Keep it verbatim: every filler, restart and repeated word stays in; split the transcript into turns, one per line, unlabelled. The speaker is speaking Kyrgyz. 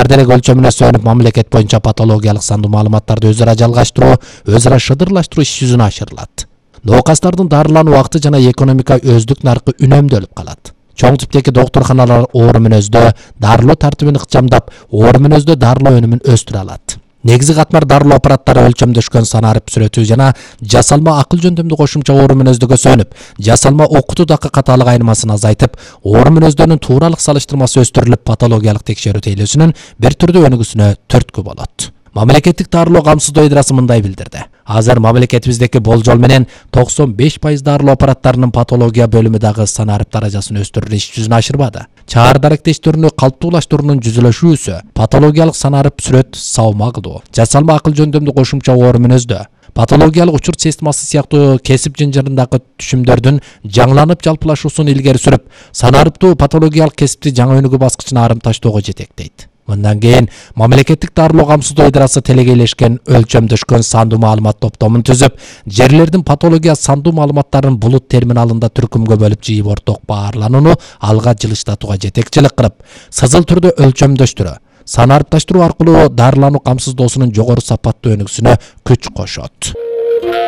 делек өлчөмүнө сүйөнүп мамлекет боюнча патологиялык сандуу маалыматтарды өзара жалгаштыруу, өзара шыдырлаштыруу иш жүзүнө ашырылат. Ноокастардын дарылануу убакыты жана экономика өздүк наркы үнөмдөлүп калат. Чоң типтеги доктурханалар оору мүнөздө дарылоо тартибин ыкчамдап, оору мүнөздө дарылоо өнүмүн өстүрө алат. Негизи катмар дарылоо аппараттары өлчөмдөшкөн санарып сүрөтүү жана жасалма акыл жөндөмдүү кошумча оору мүнөздөгө сөнүп, жасалма окутуу дакы катаалык айырмасын азайтып, оору мүнөздөрүнүн тууралык салыштырмасы өстүрүлүп, патологиялык текшерүү тейлөөсүнүн бир түрдүү өнүгүүсүнө түрткү болот. Мамлекеттик дарылоо камсыздоо ыдрасы мындай билдирди. Азыр мамлекетибиздеки болжол менен токсон беш пайыз дарылоо аппараттарынын патология бөлүмү дагы санарып даражасын өстүрүү иш жүзүнө ашырбады. Чаар даректештөрүнү калптуулаштыруунун жүзөлөшүүсү, патологиялык санарып сүрөт саама кылуу, жасалма акыл жөндөмдүү кошумча оору мүнөздө, патологиялык учурт системасы сыяктуу кесип жынжырындагы түшүмдөрдүн жаңыланып жалпылашуусун илгери сүрүп, санарыптуу патологиялык кесипти жаңы өнүгүү баскычына арым таштоого жетектейт. Мындан кийин мамлекеттик дарылоо камсыздоо ыдрасы телегейлешкен өлчөмдөшкөн сандуу маалымат топтомун түзүп, жерлердин патология сандуу маалыматтарын булут терминалында түркүмгө бөлүп жыйып орток баарланууну алга жылыштатууга жетекчилик кылып, сызыл түрдө өлчөмдөштүрүү, санарыпташтыруу аркылуу дарылануу камсыздоосунун жогору сапаттуу өнүгүүсүнө күч кошот.